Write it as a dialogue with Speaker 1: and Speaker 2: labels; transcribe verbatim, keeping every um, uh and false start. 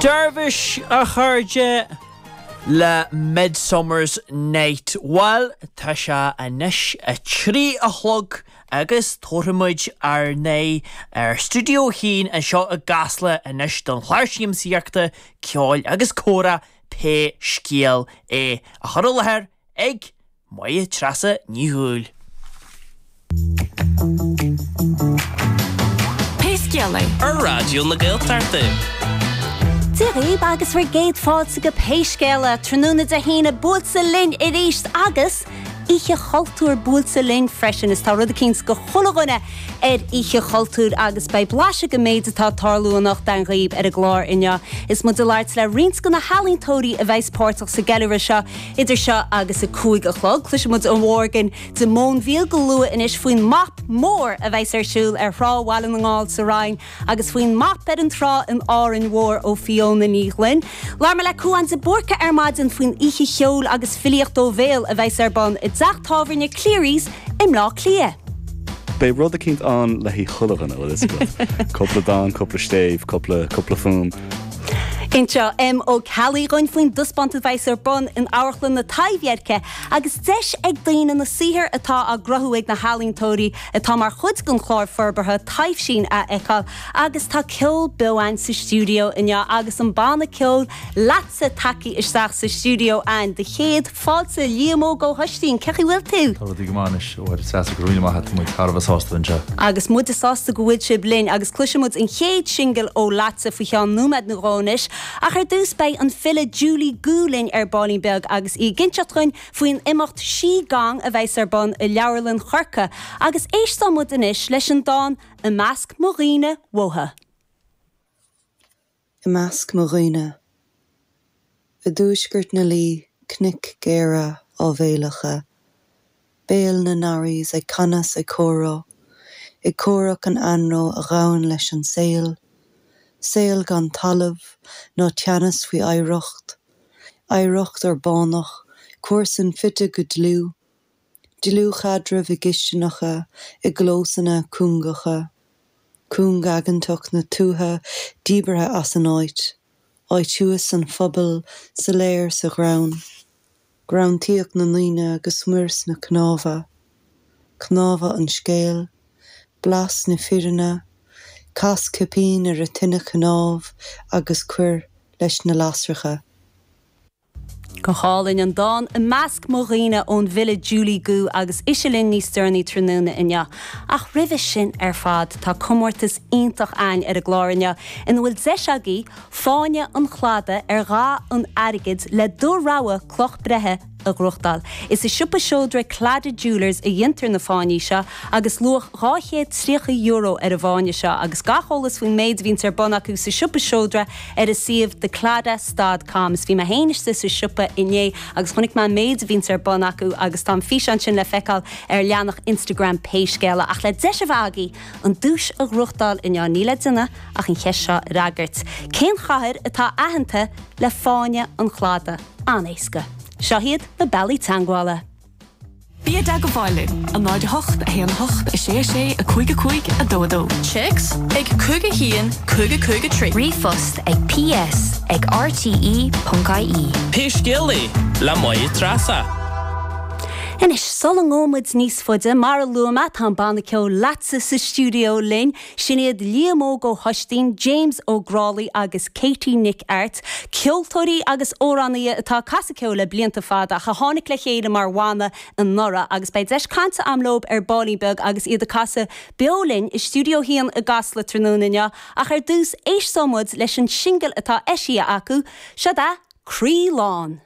Speaker 1: Dervish a chairde le Midsummer's Night. Bhuel tá sé anois a trí a chlog agus tabharfaimid ár n-aghaidh ar Stiúideo a haon anseo i gCasla anois don chlár siamsaíochta ceoil agus comhrá pé scéal é á chur i láthair ag Máire Treasa Ní Dhúill.
Speaker 2: Pé scéal é
Speaker 3: ar Raidió na Gaeltachta.
Speaker 4: Dia dhaoibh agus bhur gcéad fáilte go Pé Scéal É tráthnóna Dé hAoine buailte linn arís agus Oíche Chultúir buailte linn freisin is tá rud eicínt do chuile dhuine ar Oíche Chultúir agus beidh blaiseadh den méid atá ag tarlú anocht againn dhaoibh ar an gclár inniu. Is muid ag labhairt le roinnt de na healaíontóirí a bheas páirteach sa gceiliúradh seo idir seo agus a cúig a chlog. Cloisfidh muid ó Mhorgan de Móinbhíol go luath anois faoin MAP mór a bheas ar siúl ar thrá Bhaile na nGall sa Rinn agus faoin MAP ar an trá in Árainn Mhór ó Fiona Ní Ghlinn. Labhair mé le Cúán de Búrca ar maidin faoin oíche cheoil agus filíocht ó bhéal a bheas ar bun i dteach tábhairne Cleary's i mBleá Cliath.
Speaker 5: Beidh rud eicínt ann le haghaidh chuile dhuine bhfuil fhios agat. Cúpla dán, cúpla stéibh, cúpla cúpla fuaim.
Speaker 4: Inseoidh M. Ó Ceallaigh dhúinn faoin dtaispeántas a bheas ar bun in Amharclann na Taibhdheirce agus deis ag daoine na saothair atá á gcruthú ag na healaíontóirí atá mar chuid den chlár forbartha Taibhsín a fheiceáil agus tá ceol beo againn sa stiúideo inniu agus an banna ceoil Leatsa tagtha isteach sa stiúideo againn. Do chéad fáilte Liam Óg Ó hOistín, cén chaoi a bhfuil tú?
Speaker 6: Tá rudaí go maith anois ó Mháire Treasa go raibh míle maith agat, tá muid thar a bheith sásta anseo.
Speaker 4: Agus muide sásta go bhfuil sibh linn agus cloisfidh muid an chéad singil ó Leatsa faoi cheann nóiméad nó dhó anois. Ach ar dtús beidh an file Julie Gu linn ar baillín beag agus í ag inseacht dhúinn faoin imeacht Qi Gong a bheas ar bun i Leabharlann Chorcaí agus éistfidh muid anois leis an dán I measc mo dhaoine uathu.
Speaker 7: I measc mo dhaoine. I dtuaisceart na Laoi, cnoic ghéara áibhéileacha, béal na nDarrays ag canadh 's ag comhrá, ag comhrac an anró a ghabhann leis an saol, saol gan talamh ná teannas faoi oidhreacht, oidhreacht urbánach, comharsan fite go dlúth, dlúthchaidreamh i gcistineacha, i gclósanna cúngacha, cúngaigeantacht na tuaithe díbeartha as an áit, áit thuas an phobail, soiléir sa ghreann, greanntaíocht na ndaoine go smior sna cnámha, cnámha an scéil, blas na fírinne, cas cipín ar an tine chnámh agus cuir leis na lasracha.
Speaker 4: Go hálainn an dán I measc mo dhaoine ón bhfile Julie Gu agus ise linn níos deireanaí tráthnóna inniu. Ach roimhe sin ar fad tá comórtas iontach againn ar an gclár inniu ina bhfuil deis agaibh fáinne an chladaigh ar dhath an airgid le do rogha cloch breithe a ghnóthachtáil. Is i siopa seodra Claddagh Jewellers a dhéantar na fáinní seo agus luach dhá chéad tríocha euro ar an bhfáinne seo agus gach eolas faoin méid a bhíonns ar bun acu sa siopa seodra ar a suíomh thecladagh dot com. Is bhí mé féin istigh sa siopa inné agus chonaic mé an méid a bhíonns ar bun acu agus tá an físeán sin le feiceáil ar leathanach Instagram Pé Scéal É. Ach le deis a bheith agaibh an duais a ghnóthachtáil inniu níl le déanamh ach an cheist seo a fhreagairt. Cén chathair atá aitheanta le fáinne an chladaigh? An-éasca. Seo iad na bealaí teagmhála.
Speaker 2: Bí i dteagmháil linn, a náid a hocht, a haon a hocht, a sé a sé, a cúig a cúig, a dó a dó.
Speaker 8: Téacs ag cúig a haon, cúig a cúig a trí.
Speaker 9: Ríomhphost ag ps ag rte ponc ie.
Speaker 3: Pé scéal é le Máire Treasa.
Speaker 4: Anois, sula ngabhfaidh muid níos faide, mar a luaigh mé, tá an banna ceoil Leatsa sa stiúideo linn. Sin iad Liam Óg Ó hOistín, James Ó Grálaigh agus Katie Nic Airt, ceoltóirí agus amhránaithe atá ag casadh ceoil le blianta fada ach a tháinig le chéile mar bhanna anuraidh agus beidh deis cainte agam leo ar baillín beag agus iad ag casadh beo linn i stiúideo a haon i gCasla tráthnóna inniu. Ach ar dtús, éistfidh muid leis an singil atá eisithe acu, seo é Croí Lán.